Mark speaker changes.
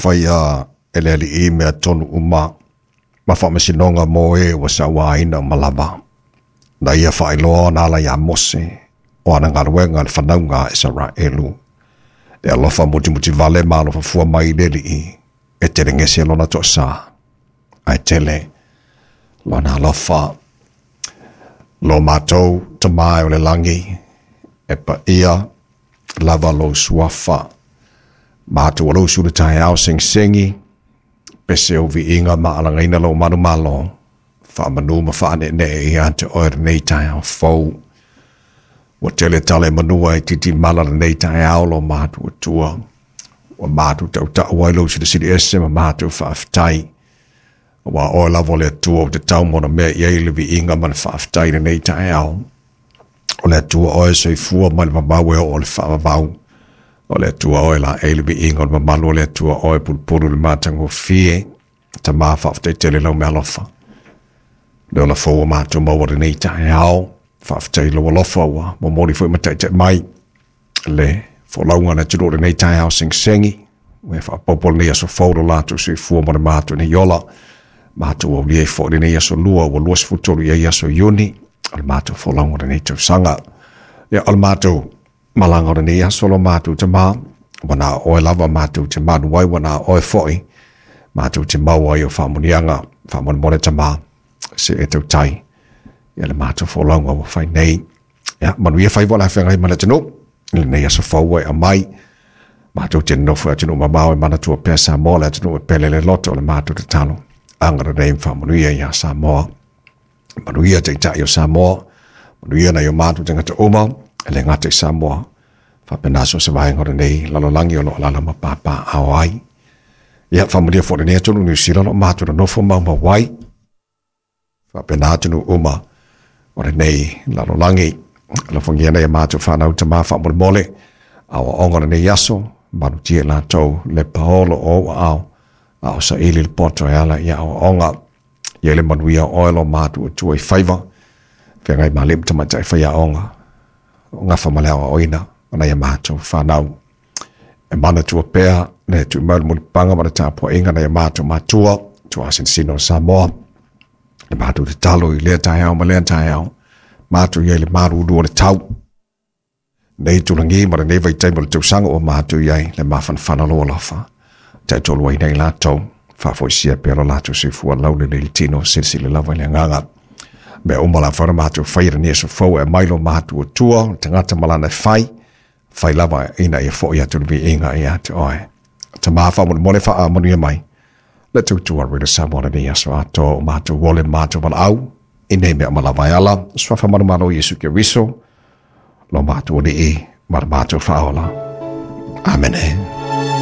Speaker 1: faia e le Alii mea tonu uma ma faamasinoga mo e ua sauaina uma lava. Na ia faailoa ona ala iā Mose o ana galuega i le fanauga a Isaraelu. Le alofa mutimutivale ma alofa fua mai le Alii, e telegese lona toasa, ae tele lona alofa. Lo matou Tama e o le lagi, e paia lava lou suafa. Matou alausu i le taeao segisegi, pese o viiga ma alagaina lou manumalo, faamanu ma faaneenee ia te oe lenei taeao fou. Ua tele tala i manua e titimala lenei taeao lo matuatua. Ua matou tautau ai lou silisili ese ma matou faafetai. Aua oe lava o le Atua ua tatau mo ona mea i ai le viiga ma le faafetai i lenei taeao. O le Atua oe e soifua mai le vavau e oo i le faavavau. O le Atua oe e laei le viiga o le mamalu o le Atua oe e pulupulu i le matagofie. Tama faafetai tele lau meaalofa. Le ola fou ua matou maua i lenei taeao. Faafetai i lou alofa ua momoli foi ma taitai mai le folauga a le atunuu i lenei taeao segisegi. Ua e faaopoopo lenei aso fou lo latou soifua ma le matou nei ola. Matou aulia ai foi lenei aso lua ua 23 i ai aso Iuni o le matou folauga o lenei tausaga. Ia, o le matou malaga o lenei aso lo matou Tama, ua na o oe lava matou te manu ai, ua na o oe foi matou te maua ai o faamuniaga. Faamolemole Tama, se e tautai ia le matou folauga ua fai nei. Ia, manuia faiva o le a feagai ma le atunuu i lenei aso fou ua e aumai. Matou te nonofo i atunuu mamao e manatua pea Samoa, le atunuu e pele le loto o le matou tatalo. Agalelei ma faamanuia ia Samoa. Manuia Taitai o Samoa, manuia nai o matou tagata uma, e le gata i Samoa, faapena so o se vaega o lenei lalolagi o lo o alaala ma papaaao ai. Ia, faamanuia foi lenei atunuu Niu Sila o lo o matou nonofo maumau ai, faapena atunuu uma o lenei lalolagi. Alofagia nai a matou fanau tama faamolemole, aoaoga o lenei aso, malutia i latou le paolo o ou aao, a o saili le poto e ala i aoaoga. Ia le manuia o oe lo matuatua i faiva, feagai ma alii ma tamaitai faiaoga, o gafa ma le aoaoina o nai a matou fanau. E manatua pea le tui mai o le mulipapaga ma le tapuaiga nai a matou matua, tuasinosino o Samoa. Le matou tatalo i lea taeao ma lea taeao, matou i ai le malulu o le tau. Nei tulagi ma lenei vaitaimi o le tausaga ua matou i ai le mafanafana o lou alofa. Taitolu ai nei latou, faafoisia pea lo latou soifua laulelei i le tino, silasila lava i le agaga. Mea uma la whaona mātou whai lenei aso fou e aumai lo matuatua, le tagata ma lana e fai, fai lava ina ia foi atu le viiga ia te oe. Tama faamolemole faamanuia mai le tautua Radio Samoa lenei aso atoa o matou ole ma matou valaau i nei mea uma lava e ala suafa manumalo Iesu Keriso lo matou Alii ma le matou Faaola. Amene.